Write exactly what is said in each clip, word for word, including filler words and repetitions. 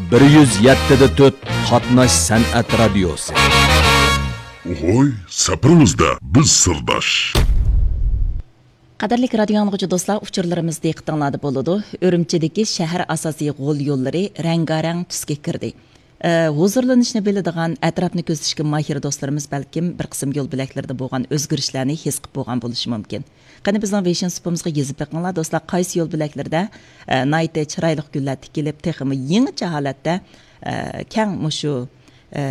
بىر يۈز يەتتە دە تۆت قاتناش سەنئەت رادىيوسى. ھوي، سەپىرىڭىزدە بىز سىرداش. قەدىرلىك رادىيو ئاڭلىغۇچى دوستلار، ئۇچۇرلىرىمىز دىققىتىڭلاردا بولىدۇ. ئۈرۈمچىدىكى شەھەر ئاساسىي غول يوللىرى رەڭگارەڭ تۈسكە كىردى. ئە، ھۇزۇرلىنىشنى بىلىدىغان، ئەتراپنى كۆزىتىشكە ماھىر دوستلىرىمىز بەلكىم بىر قىسىم يول بۆلەكلىرىدە بولغان ئۆزگىرىشلەرنى ھېس قىلىپ بولغان بولۇشى مۇمكىن. قېنى، بىزنىڭ ۋېيشىن سۇپىمىزغا يېزىپ بېقىڭلار، دوستلار، قايسى يول بۆلەكلىرىدە، ئە، ناھايىتى چىرايلىق گۈللەر تىكىلىپ، تېخىمۇ يېڭىچە ھالەتتە، ئە، كەڭ مۇشۇ، ئە،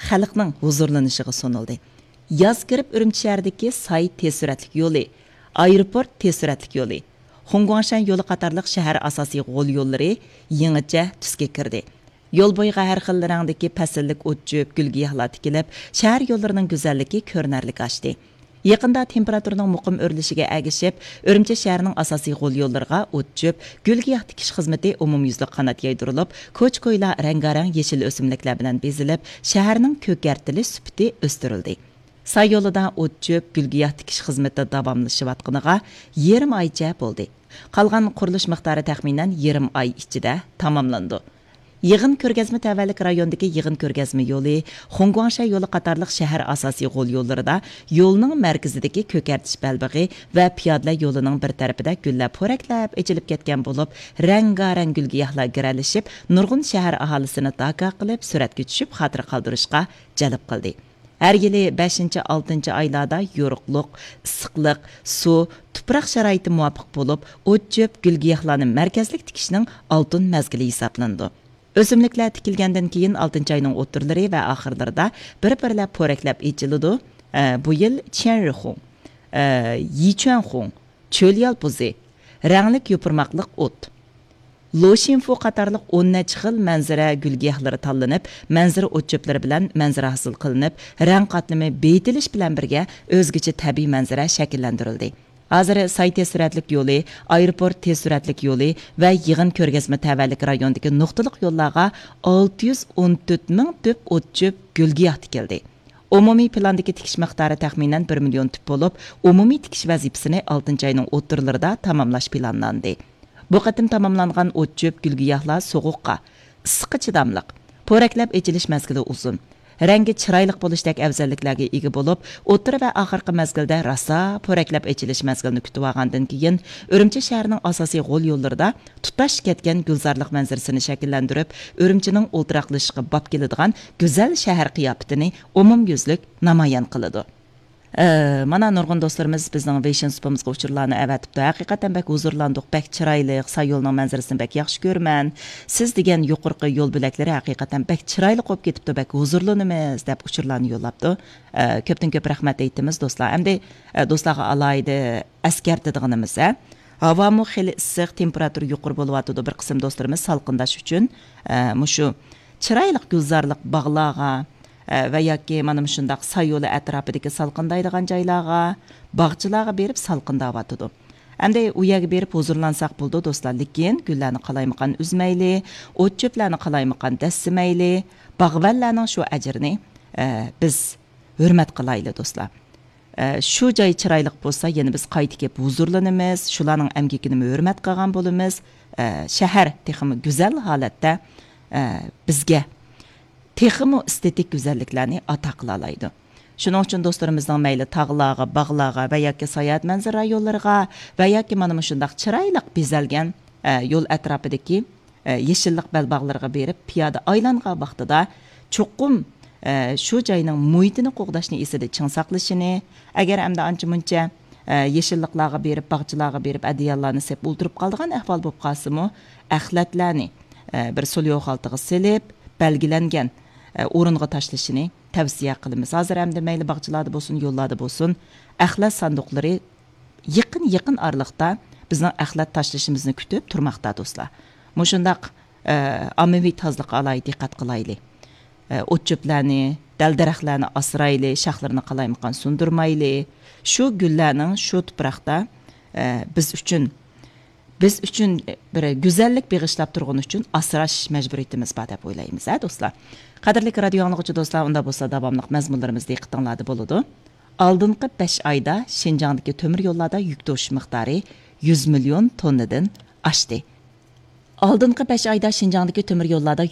خەلقنىڭ ھۇزۇرلىنىشىغا سۇنۇلدى. ياز كىرىپ، ئۈرۈمچى شەھىرىدىكى ساي تېز سۈرئەتلىك يولى، ئايروپورت تېز سۈرئەتلىك يولى، خۇڭگۇاڭشەن يولى قاتارلىق شەھەر ئاساسىي غول يوللىرى يېڭىچە تۈسكە كىردى. يول بويىغا ھەر خىل رەڭدىكى پەسىللىك ئوت-چۆپ، گۈل-گىياھلار تىكىلىپ، شەھەر يوللىرىنىڭ گۈزەللىكى كۆرۈنەرلىك ئاشتى. يېقىندا تېمپېراتۇرىنىڭ مۇقىم ئۆرلىشىگە ئەگىشىپ، ئۈرۈمچى شەھىرىنىڭ ئاساسىي غول يوللىرىغا ئوت-چۆپ، گۈل-گىياھ تىكىش خىزمىتى ئومۇميۈزلۈك قانات يايدۇرۇلۇپ، كوچا-كويلار رەڭگارەڭ يېشىل ئۆسۈملۈكلەر بىلەن بېزىلىپ، شەھەرنىڭ كۆكەرتىلىش سۈپىتى ئۆستۈرۈلدى. ساي يولىدا ئوت-چۆپ، گۈل-گىياھ تىكىش خىزمىتى داۋاملىشىۋاتقىنىغا يېرىم ئايچە بولدى. قالغان قۇرۇلۇش مىقدارى تەخمىنەن يېرىم ئاي ئىچىدە تاماملىنىدۇ. يىغىن كۆرگەزمە تەۋەلىك رايوندىكى يىغىن كۆرگەزمە يولى، خۇڭگۇاڭشەن يولى قاتارلىق شەھەر ئاساسىي غول يوللىرىدا يولنىڭ مەركىزىدىكى كۆكەرتىش بەلبېغى ۋە پىيادىلەر يولىنىڭ بىر تەرىپىدە گۈللەر پورەكلەپ ئېچىلىپ كەتكەن بولۇپ، رەڭگارەڭ گۈل-گىياھلار گىرەلىشىپ، نۇرغۇن شەھەر ئاھالىسىنى داكا قىلىپ، سۈرەتكە چۈشۈپ، خاتىرە قالدۇرۇشقا جەلپ قىلدى. ھەر يىلى بەشىنچى، ئالتىنچى ئايلاردا يورۇقلۇق، ئىسسىقلىق، سۇ، تۇپراق شارائىتى مۇۋاپىق بولۇپ، ئوت-چۆپ، گۈل-گىياھلارنى مەركەزلىك تىكىشنىڭ ئالتۇن مەزگىلى ھېسابلىنىدۇ. ئۆسۈملۈكلەر تىكىلگەندىن كېيىن، ئالتىنچى ئاينىڭ ئوتتۇرىلىرى ۋە ئاخىرلىرىدا بىر-بىرلەپ پورەكلەپ ئېچىلىدۇ. ئە، بۇ يىل چيەنرىخۇڭ، ئە، يىچۈەنخۇڭ، چۆل يالپۇزى، رەڭلىك يوپۇرماقلىق ئوت، لوشىنفۇ قاتارلىق ئون نەچچە خىل مەنزىرە گۈل-گىياھلىرى تاللىنىپ، مەنزىرە ئوت-چۆپلىرى بىلەن مەنزىرە ھاسىل قىلىنىپ، رەڭ قاتلىمى بېيىتىلىش بىلەن بىرگە ئۆزگىچە تەبىئىي مەنزىرە شەكىللەندۈرۈلدى. ھازىر ساي تېز سۈرئەتلىك يولى، ئايروپورت تېز سۈرئەتلىك يولى ۋە يىغىن كۆرگەزمە تەۋەلىك رايوندىكى نۇقتىلىق يوللارغا ئالتە يۈز ئون تۆت مىڭ تۈپ ئوت-چۆپ، گۈل-گىياھ تىكىلدى. ئومۇمىي پىلاندىكى تىكىش مىقدارى تەخمىنەن بىر مىليون تۈپ بولۇپ، ئومۇمىي تىكىش ۋەزىپىسىنى ئالتىنچى ئاينىڭ ئوتتۇرىلىرىدا تاماملاش پىلانلاندى. بۇ قېتىم تاماملانغان ئوت-چۆپ، گۈل-گىياھلار سوغۇققا، ئىسسىققا چىداملىق، پورەكلەپ ئېچىلىش مەزگىلى ئۇزۇن، رەڭگى چىرايلىق بولۇشتەك ئەۋزەللىكلەرگە ئىگە بولۇپ، ئوتتۇرا ۋە ئاخىرقى مەزگىلدە راسا پورەكلەپ ئېچىلىش مەزگىلىنى كۈتۈۋالغاندىن كېيىن، ئۈرۈمچى شەھىرىنىڭ ئاساسىي غول يوللىرىدا تۇتاش كەتكەن گۈلزارلىق مەنزىرىسىنى شەكىللەندۈرۈپ، ئۈرۈمچىنىڭ ئولتۇراقلىشىشقا باب كېلىدىغان گۈزەل شەھەر قىياپىتىنى ئومۇميۈزلۈك نامايان قىلىدۇ. ئە، مانا نۇرغۇن دوستلىرىمىز بىزنىڭ ۋېيشىن سۇپىمىزغا ئۇچۇرلارنى ئەۋەتىپتۇ. ھەقىقەتەن بەك ھۇزۇرلاندۇق، بەك چىرايلىق، ساي يولنىڭ مەنزىرىسىنى بەك ياخشى كۆرىمەن. سىز دېگەن يۇقىرىقى يول بۆلەكلىرى ھەقىقەتەن بەك چىرايلىق بولۇپ كېتىپتۇ، بەك ھۇزۇرلىنىمىز، دەپ ئۇچۇرلارنى يوللاپتۇ. ئە، كۆپتىن كۆپ رەھمەت ئېيتىمىز دوستلار. ئەمدى، ئە، دوستلارغا ئالاھىدە ئەسكەرتىدىغىنىمىز، ھە، ھاۋامۇ خېلى ئىسسىق، تېمپېراتۇرا يۇقىرى بولۇۋاتىدۇ. بىر قىسىم دوستلىرىمىز سالقىنداش ئۈچۈن، ئە، مۇشۇ چىرايلىق گۈلزارلىق باغلارغا، ئە، ۋە ياكى مانا مۇشۇنداق ساي يولى ئەتراپىدىكى سالقىندايدىغان جايلارغا، باغچىلارغا بېرىپ سالقىنداۋاتىدۇ. ئەمدى ئۇ يەرگە بېرىپ ھۇزۇرلانساق بولىدۇ، دوستلار، لېكىن گۈللەرنى قالايمىقان ئۈزمەيلى، ئوت-چۆپلەرنى قالايمىقان دەسسىمەيلى، باغۋەنلەرنىڭ شۇ ئەجرىنى، ئە، بىز ھۆرمەت قىلايلى، دوستلار. ئە، شۇ جاي چىرايلىق بولسا، يەنە بىز قايتا كېلىپ ھۇزۇرلىنىمىز، شۇلارنىڭ ئەمگىكىنىمۇ ھۆرمەت قىلغان بولىمىز. ئە، شەھەر تېخىمۇ گۈزەل ھالەتتە، ئە، بىزگە تېخىمۇ ئېستېتىك گۈزەللىكلەرنى ئاتا قىلالايدۇ. شۇنىڭ ئۈچۈن دوستلىرىمىزنىڭ مەيلى تاغلارغا، باغلارغا ۋە ياكى ساياھەت مەنزىرە رايونلىرىغا ۋە ياكى مانا مۇشۇنداق چىرايلىق بېزەلگەن، ئە، يول ئەتراپىدىكى، ئە، يېشىللىق بەلباغلىرىغا بېرىپ پىيادە ئايلانغان ۋاقتىدا چوقۇم، ئە، شۇ جاينىڭ مۇھىتىنى قوغداشنى ئېسىدە چىڭ ساقلىشىنى، ئەگەر ئەمدى ئانچە-مۇنچە، ئە، يېشىللىقلارغا بېرىپ، باغچىلارغا بېرىپ، ئەدىياللارنى سېپ ئولتۇرۇپ قالىدىغان ئەھۋال بولۇپ قالسىمۇ، ئەخلەتلەرنى، ئە، بىر سوليوخ خالتىغا سېلىپ، بەلگىلەنگەن، ئە، ئورۇنغا تاشلىشىنى تەۋسىيە قىلىمىز. ھازىر ئەمدى مەيلى باغچىلاردا بولسۇن، يوللاردا بولسۇن، ئەخلەت ساندۇقلىرى يېقىن، يېقىن ئارىلىقتا بىزنىڭ ئەخلەت تاشلىشىمىزنى كۈتۈپ تۇرماقتا، دوستلار. مۇشۇنداق، ئە، ئاممىۋى تازىلىققا ئالاھىدە دىققەت قىلايلى. ئە، ئوت-چۆپلەرنى، دەل-دەرەخلەرنى ئاسرايلى، شاخلىرىنى قالايمىقان سۇندۇرمايلى. شۇ گۈللەرنىڭ شۇ تۇپراقتا، ئە، بىز ئۈچۈن، بىز ئۈچۈن بىر گۈزەللىك بېغىشلاپ تۇرغىنى ئۈچۈن ئاسراش مەجبۇرىيىتىمىز بار دەپ ئويلايمىز، ھە، دوستلار. قەدىرلىك رادىيو ئاڭلىغۇچى دوستلار، ئۇنداق بولسا داۋاملىق مەزمۇنلىرىمىز دىققىتىڭلاردا بولىدۇ. ئالدىنقى بەش ئايدا شىنجاڭدىكى تۆمۈر يوللاردا يۈك توشۇش مىقدارى يۈز مىليون توننىدىن ئاشتى. ئالدىنقى بەش ئايدا شىنجاڭدىكى تۆمۈر يوللاردا